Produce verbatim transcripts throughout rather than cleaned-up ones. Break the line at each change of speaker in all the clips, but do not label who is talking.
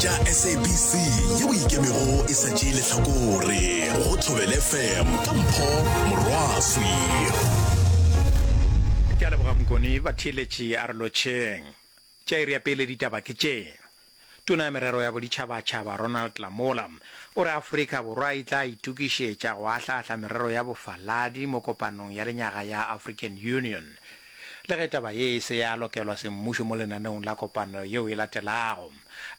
Tša S A B C yeo ikemego e sa tšee lehlakore go Thobela F M ka Mpho Morwaswi.
Ke a leboga Mokoni. Batheeletši a re lotšheng. Tša iri ya pele ditaba ke tše. Tona ya Merero ya Boditšhabatšhaba Ronald Lamola o re Afrika Borwa e tla itokišetša go ahlaahla merero ya bofaladi mo kopanong ya lenyaga ya African Union. Le ge taba ye e se ya lokelwa semmušo mo lenaneong la kopano yeo e latelago,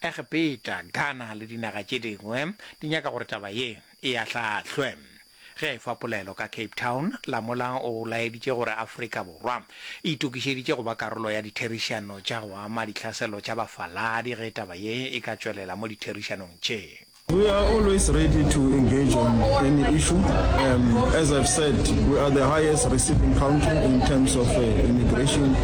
Egepeta, Ghana le dinaga tše dingwe di nyaka gore taba ye e ahlaahlwe. Ge a efa polelo ka Cape Town, Lamola o laeditše gore Afrika Borwa e itokišeditše go ba karolo ya ditherišano tša go ama ditlhaselo tša bafaladi ge taba ye e ka tšwelela mo ditherišanong tše.
We are always ready to engage on any issue. Um, as I've said, we are the highest receiving country in terms of uh, immigration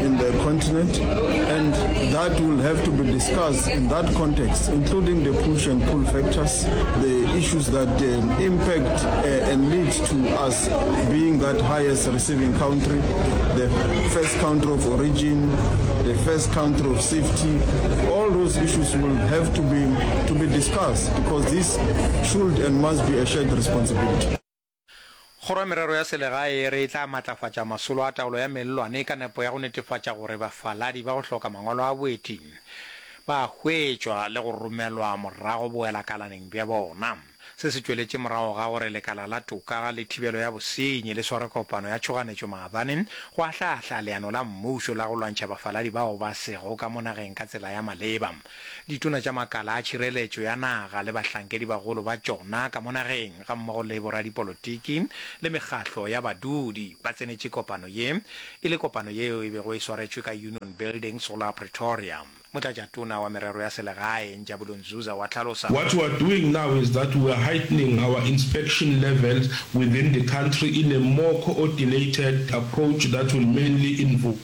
in the continent, and that will have to be discussed in that context, including the push and pull factors, the issues that um, impact uh, and lead to us being that highest receiving country, the first country of origin, the first country of safety. All those issues will have to be to be discussed because this should and must be a shared responsibility.
Kgoro ya Merero ya Selegae e re e tla matlafatša masolo a taolo ya mellwane ka nepo ya go netefatša gore bafaladi ba go hloka mangwalo a boeti ba a hwetšwa le go romelwa morago boelakalaneng bja bona. Se se tšweletše morago ga gore lekala la toka le thibelo ya bosenyi le sware kopano ya tšhoganetšo maabane go ahlaahla leano la mmušo la go lwantšha bafaladi bao ba sego ka mo nageng ka tsela ya maleba. Ditona tša makala a tšhireletšo ya naga le bahlankedibagolo ba tšona ka mo nageng gammogo le boradipolotiki le mekgatlo ya badudi ba tsenetše kopano ye e le kopano yeo e bego e swaretšwe ka Union Buildings go la Pretoria. Motlatšatona wa Merero ya Selegae, Njabulo Nzuza wa hlalosa.
What we are doing now is that we are heightening our inspection levels within the country in a more coordinated approach that will mainly involve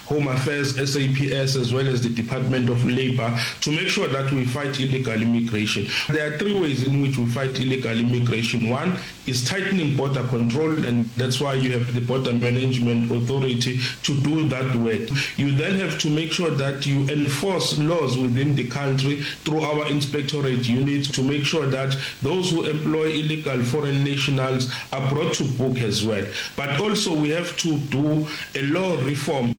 Home Affairs, S A P S as well as the Department of Labour to make sure that we fight illegal immigration. There are three ways in which we fight illegal immigration. One is tightening border control, and that's why you have the Border Management Authority to do that work. You then have to make sure that you enforce laws within the country through our inspectorate units to make sure that those who employ illegal foreign nationals are brought to book as well. But also we have to do a law reform.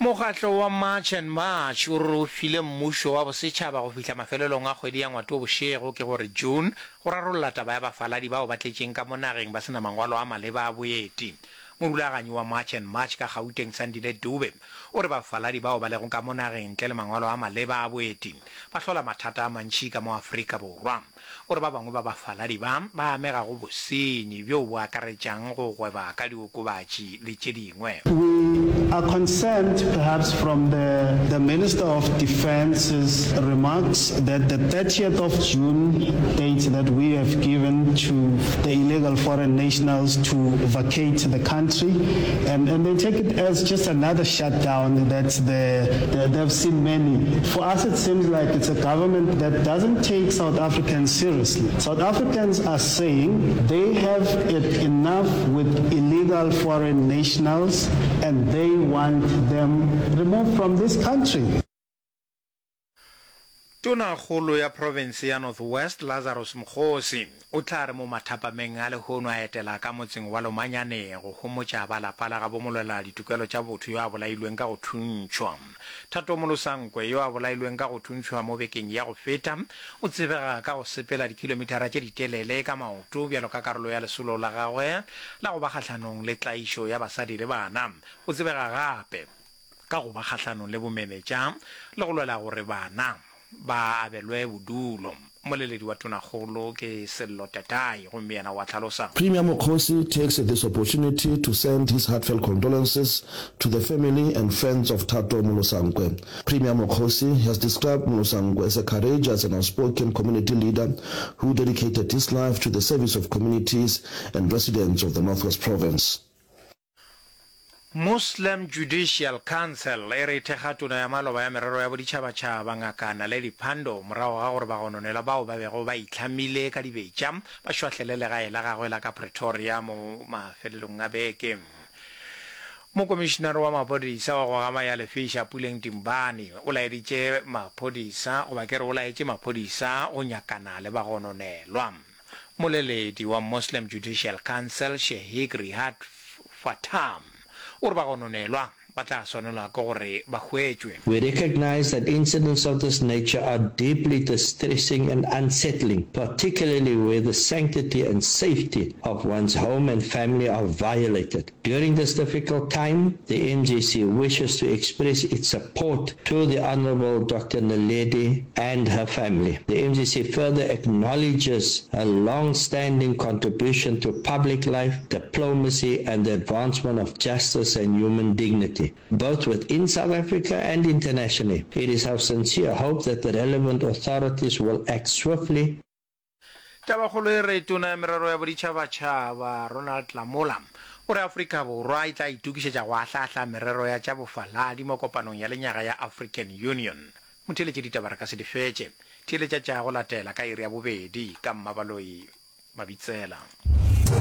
Mokgatlo wa March and March o re o file mmušo wa bosetšhaba go fihla mafelelong a kgwedi ya Ngwatobošego, ke gore June, go rarolla taba ya bafaladi bao ba tletšeng ka mo nageng ba se na mangwalo a maleba a boeti. Morulaganyi wa March and March ka Gauteng, Sandile Dube, o re bafaladi bao ba lego ka mo nageng ntle le mangwalo a maleba a boeti ba hlola mathata a mantši ka mo Afrika Borwa. O re ba bangwe ba bafaladi ba ba amega go bosenyi bjo bo akaretšang go gweba ka diokobatši le tše dingwe.
We are concerned perhaps from the the Minister of Defence's remarks that the thirtieth of June date that we have given to the illegal foreign nationals to vacate the country, and, and they take it as just another shutdown that the, the, they've seen many. For us, it seems like it's a government that doesn't take South Africans seriously. South Africans are saying they have it enough with illegal foreign nationals and they want them removed from this country.
Tonakgolo ya profense ya North West, Lazarus Mokgosi, o tla re mo mathapameng a lehono a etela ka motseng wa Lomanyane go homotša ba lapa la gabo molwela ditokelo tša botho yo a bolailweng ka go thuntšhwa. Thato Molosankwe yo a bolailweng ka go thuntšhwa mo bekeng ya go feta, o tsebega ka go sepela dikhilomithara tše ditelele ka maoto bjalo ka karolo ya lesolo la gagwe la go ba kgahlanong le tlaišo ya basadi le bana. O tsebega gape ka go ba kgahlanong le bomenetša le go lwela gore bana ba abelwe bodulo. Mmoleledi wa Tonakgolo ke Sello Tatai gomme yena o a hlalosa.
Premier Mokgosi takes this opportunity to send his heartfelt condolences to the family and friends of Thato Molosankwe. Premier Mokgosi has described Molosankwe as a courageous and outspoken community leader who dedicated his life to the service of communities and residents of the North West Province.
Muslim Judicial Council e re e thekga Tona ya maloba ya Merero ya Boditšhabatšhaba Ngaka Naledi Pandor morago ga gore bagononelwa bao ba bego ba itlhamile ka dibetša ba šwahlele legae la gagwe la ka Pretoria mo mafelelong a beke. Mokomišinare wa maphodisa wa go gama ya lefiša Puleng Dimbane o laeditše maphodisa goba ke re o laetše maphodisa go nyakana le bagononelwa. Mmoleledi wa Muslim Judicial Council Sheik Rihad Fatam o re bagononelwa ba tla swanelwa ke gore ba hwetšwe.
We recognise that incidents of this nature are deeply distressing and unsettling, particularly where the sanctity and safety of one's home and family are violated. During this difficult time, the M G C wishes to express its support to the Honourable Doctor Naledi and her family. The M G C further acknowledges her long-standing contribution to public life, diplomacy and the advancement of justice and human dignity, both within South Africa and internationally. It is our sincere hope that the relevant authorities will act swiftly.
Tabakgolo e re Tona ya Merero ya Boditšhabatšhaba Ronald Lamola o re Afrika Borwa e tla itokišetša go ahlaahla merero ya tša bofaladi mo kopanong ya lenyaga ya African Union. Motheeletši ditaba re ka se di fetše. Theeletša tša go latela ka iri ya bobedi ka Mmabaloi Mabitsela.